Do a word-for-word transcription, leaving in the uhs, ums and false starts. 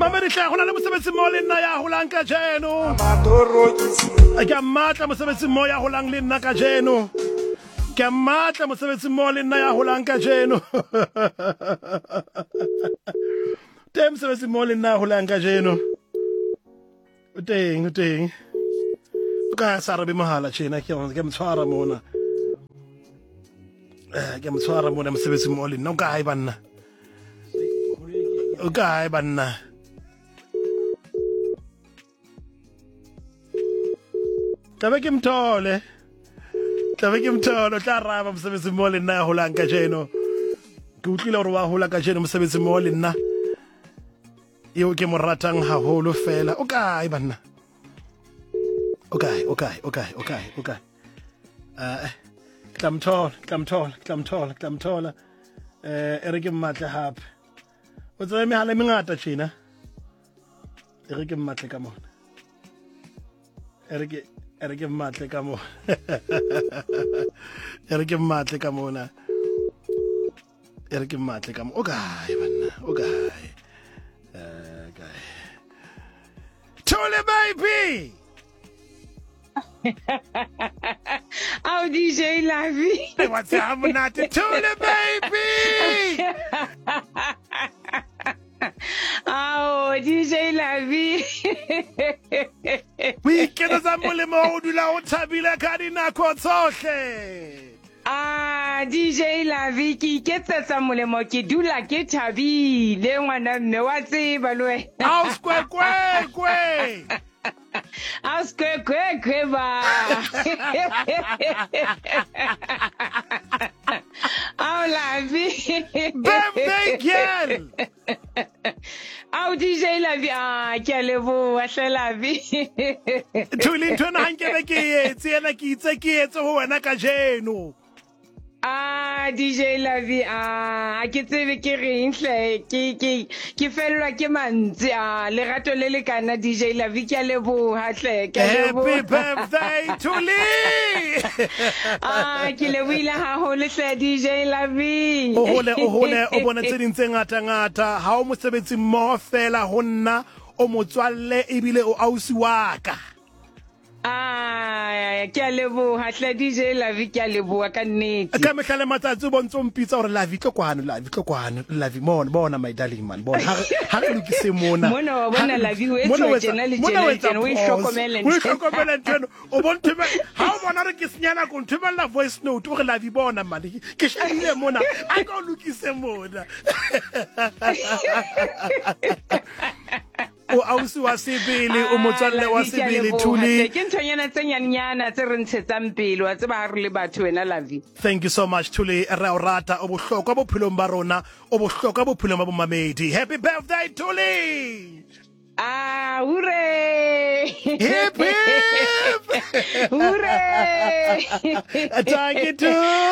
Mamedi hle go na le mosebetsi mo le nna ya holang kajeno. Ke a mmatla mosebetsi mo ya holang le nna kajeno. Ke a mmatla mosebetsi mo le nna ya holang kajeno. Teng mosebetsi mo le nna ya holang kajeno. O teng, o teng. O ka sa arabe mohala tjena ke ke motshwara mona. Eh ke motshwara mona mosebetsi mo le nna o kae banna? O kae banna? Tlabe ke mthole. Tlabe ke mthole o tla araba mosebetsi mo le nna ya holang kajeno. Ke utlwile hore wa hola kajeno mosebetsi mo le nna. Eo ke mo ratang haholo fela. O kae banna? O kae, o kae, o kae, o kae, o kae. Eh ke tla mthola, ke tla mthola, ke tla mthola, ke tla mthola. Eh e re ke mmatle hape. O tsebe mehala e mengata tjena. E re ke mmatle ka mona. E re ke e re ke mmatle ka mona. E re ke mmatle ka mona. E re ke mmatle ka mona. O kae banna? O kae? Eh kae? Thole baby. Ao D J Lavi. What's up monate? Thole baby. Ao D J Lavi. O iketsetsa molemo o dula o thabile ka dinako tsohle. Ah D J Lavi ke iketsetsa molemo ke dula ke thabile ngwana mme wa tseba le wena. Ao skwekwe. Ao skwekwe ba. Ao Lavi. Birthday girl. Ao D J Lavi ah ke a leboha hle Lavi. Thuli ntho ena ha nkebe ke etse ena ke itse ke etse ho wena kajeno. Ah D J Lavi ah ke tsebe ke reng hle ke ke ke fellwa ke mantsi ah lerato le le kana D J Lavi ke a leboha hle ke a leboha. Happy birthday Thuli. Ah ke lebohile haholo hle D J Lavi. O hole o hole o bone tse ding tse ngata ngata ha o mosebetsi mmoho fela ho nna o motswalle ebile o ausi wa ka. Ah ke a leboha hle D J Lavi ke a leboha ka nnete. Ka mehla le matsatsi o bontse o mpitsa hore Lavi tlo kwano, Lavi tlo kwano, Lavi mona bona my darling man bona ha ha re lokise mona. Mona wa bona Lavi ho etsa tjena le tjena tjena o ihlokomele o ihlokomele ntho eno o bonthe ha o bona re ke senyana ko nthomella voice note o re Lavi bona man ke shebile mona a ka o lokise mona. O ausi wa sebele o motswalle wa sebele Thuli. Ke nthonyana tse nyannyana tse re ntshetsang pele wa tseba ha re le batho wena Lavi. Thank you so much Thuli re o rata o bohlokwa bophelong ba rona o bohlokwa bophelong ba bomamedi. Happy birthday Thuli. Ah hooray. Hip hip. Hooray. Thank you Thuli.